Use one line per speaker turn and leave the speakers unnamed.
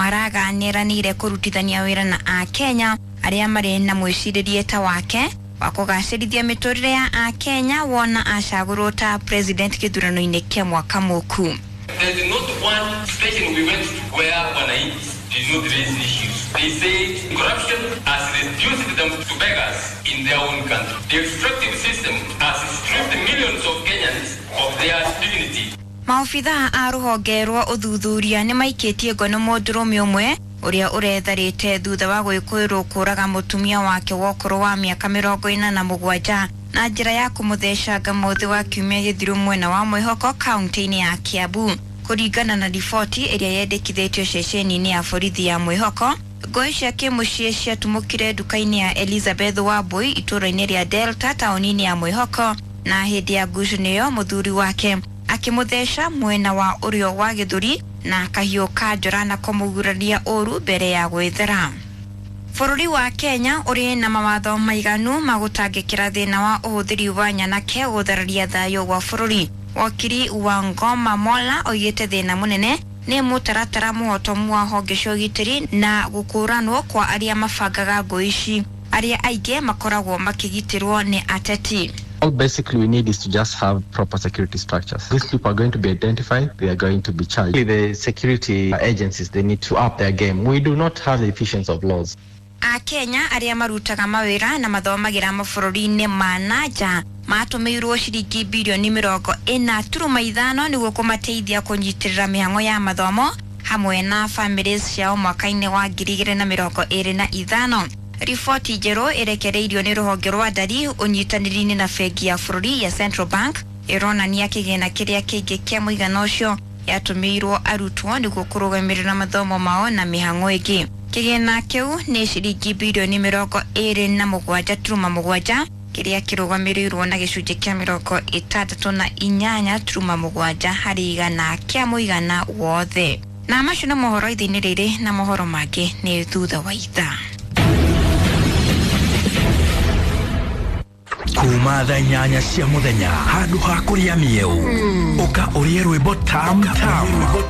Maraga nĩeranĩire kũrutithania wĩra na Akenya arĩa marĩ na mwĩcirĩrie ta wake wa kũgacĩrithia mĩtũrĩre ya Akenya wona acagũrwo ta president gĩthurano-inĩ kĩa mwaka mũku.
There's not one station we went to where wananchi did not raise issues. They said corruption has reduced them to beggars in their own country. The extractive system has stripped millions of Kenyans of their dignity.
Maobithaa a rũhonge rwa ũthuthuria nĩ maikĩtie ngono mũndũrũme ũmwe ũrĩa ũretharĩte thutha wa gwĩkũĩrwo kũraga mũtumia wake wa ũkũrũ wa mĩaka 47 na njĩra ya kũmũthecanga mũthĩ wa kiumia gĩthiru mwena wa Mwĩhoko kaunti-inĩ ya Kiambu. Kũringana na riboti ĩrĩa yendekithĩtio ceceni-inĩ ya borithi ya Mwĩhoko, ngũĩ cia kĩmũciĩ ciatumũkire nduka-inĩ ya Elizabeth Wambui itũũra-inĩ rĩa Delta taũni-inĩ ya Mwĩhoko, na hĩndĩ ya ngucanio ĩyo mũthuri wake akĩmũtheca mwena wa ũrĩo wa gĩthũri na kahiũ ka njora na kũmũguraria ũru mbere ya gwĩthera. Bũrũri wa Kenya ũrĩ na mawatho maiganu ma gũtangĩkĩra thĩna wa ũhũthĩri wa nyanake gũthararia thayũ wa bũrũri. Wakiri wa Ngoma Mola oigĩte thĩna mũnene nĩ mũtaratara mũhotomu wa honge cia ũgitĩri na gũkũranwo kwa arĩa mabangaga ngũĩ ici, arĩa aingĩ makoragwo makĩgitĩrwo nĩ ateti.
All basically we need is to just have proper security structures. These people are going to be identified, they are going to be charged. The security agencies, they need to up their game. We do not have the efficiency of laws.
Akenya arĩa marutaga mawĩra na mathomagĩra mabũrũri-inĩ ma na nja matũmĩirwo ciringi birioni 40.5 nĩguo kũmateithia kũnyitĩrĩra mĩhang'o ya mathomo hamwe na bamĩrĩ ciao mwaka-inĩ wa 2025. Riboti njerũ ĩrekereirio nĩ rũhonge rwa ndari ũnyitanĩri-inĩ na bengi ya bũrũri ya Central Bank ĩronania kĩgĩna kĩrĩa kĩingĩ kĩa mũigana ũcio yatũmĩirwo arutwo nĩguo kũrũgamĩrĩra mathomo mao na mĩhang'o ĩngĩ. Kĩgĩna kĩu nĩ ciringi birioni 27.7 kĩrĩa kĩrũgamĩrĩirwo na gĩcunjĩ kĩa 68.7 harĩ igana kĩa mũigana wothe. Na macio nĩ mohoro ithaa-inĩ rĩrĩ, na mohoro mangĩ nĩ thutha wa ithaa.
Kuma thaa 8 cia mũthenya handũ ha kũrĩa mĩeũ, ũka ũrĩe rwĩmbo tam tam.